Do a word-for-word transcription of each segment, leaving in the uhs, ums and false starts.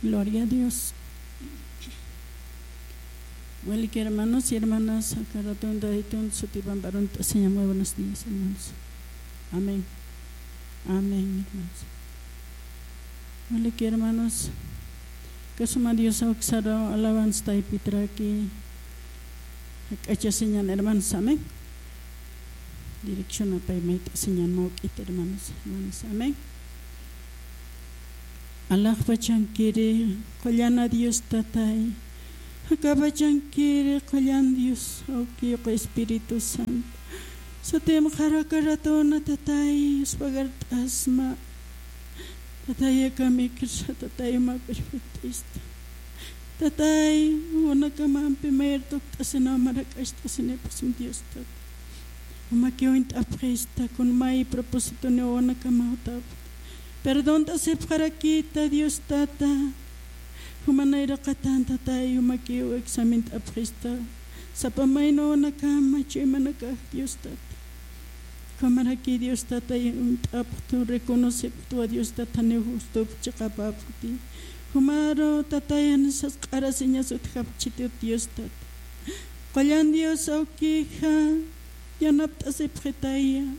Gloria a Dios. Walik hermanos y hermanas, aka ratun Taytun sutipan p'arunt'asiñam. Muy buenos días, hermanos. Amén. Amén, hermanos. Walik hermanos, aka suma Dios awksaru alabanza taypitrakï jak'achasiñan, hermanos. Amén. Dirección apay mayt'asiñan mawk'it, hermanos, hermanas. Amén. Alaxpachankiri qullan Dios Tatay. Jakapachankiri qullan Dios Awki, Espíritu Santo. Sutimxaru aka ratuna Tatay, yuspagart'asma. Tatay, aka mikhirsa Tatay, mä perfectista. Tatay, wawanakamampi mayar tukt'asinaw, marak'acht'asinipxsma Dios Tata. Jumakiw uñt'apxista, kun may propósitoni wawanakamaw Tata. Perdont'asipxarakïta Dios Tata. Juma nayraqatan Tatay, jumakiw examint'apxista. Sapa mayni wawanakama chuymanakax Dios Tata. Ukhamaraki Dios Tatay uñt'apxtu, reconocipxtwa Dios Tata, janiw justup chiqapäpxti. Jumaru Tatay, jani sas q'arasiñas utjapxchitut Dios Tata. Qullan Dios Awkixa, yanapt'asipxitaya,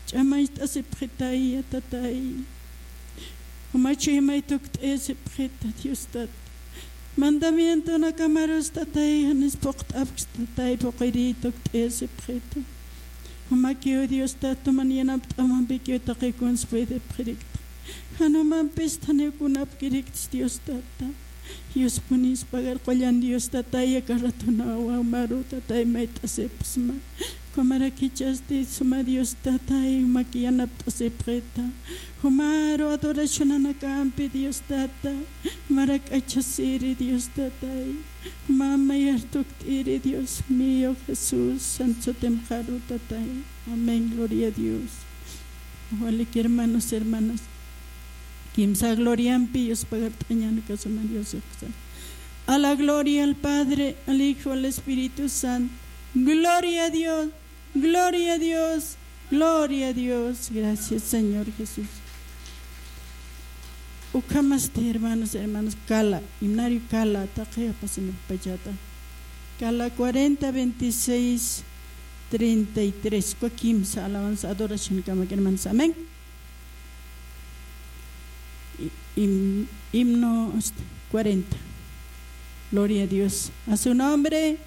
ch'amacht'asipxitaya Tatay. Juma chuymay tukt'asipxita Dios Tata. Mandamientonakamarus Tatay, janis phuqt'apxi Tatay, phuqiri tukt'asipxita. Jumakiw Dios Tata, man yanapt'amampikiw taqi kuns puedipxirikta. Jan jumampis janiw kunapkiriktis Dios Tata. Yuspuniw pagar qullan Dios Tatay, aka ratuna wawamaru Tatay mayt'asipxsma. Ukhamaraki jichhasti suma Dios Tatay, jumaki yanapt'asipxita. Jumaru adoracionanakampi Dios Tata, marak'achasiri Dios Tatay. Juma mayar tukt'iri Dios mío Jesús, santo sutimxaru Tatay. Amén, gloria a Dios. Walik hermanos, hermanas. Kimsa gloriampi yuspagart'añäni aka suma Dios uksa. A la gloria al Padre, al Hijo, al Espíritu Santo. Gloria a Dios, gloria a Dios, gloria a Dios. Gracias, Señor Jesús. Ukhamasti, hermanos, hermanas, kala, himnario kala, taqi apasinipxpachata. Kala cuarenta, veintiséis, treinta y tres. Uka kimsa alabanza, adoracionkamak, hermanos. Amén. Hi-, him-, himno, este, cuarenta. Gloria a Dios. A su nombre.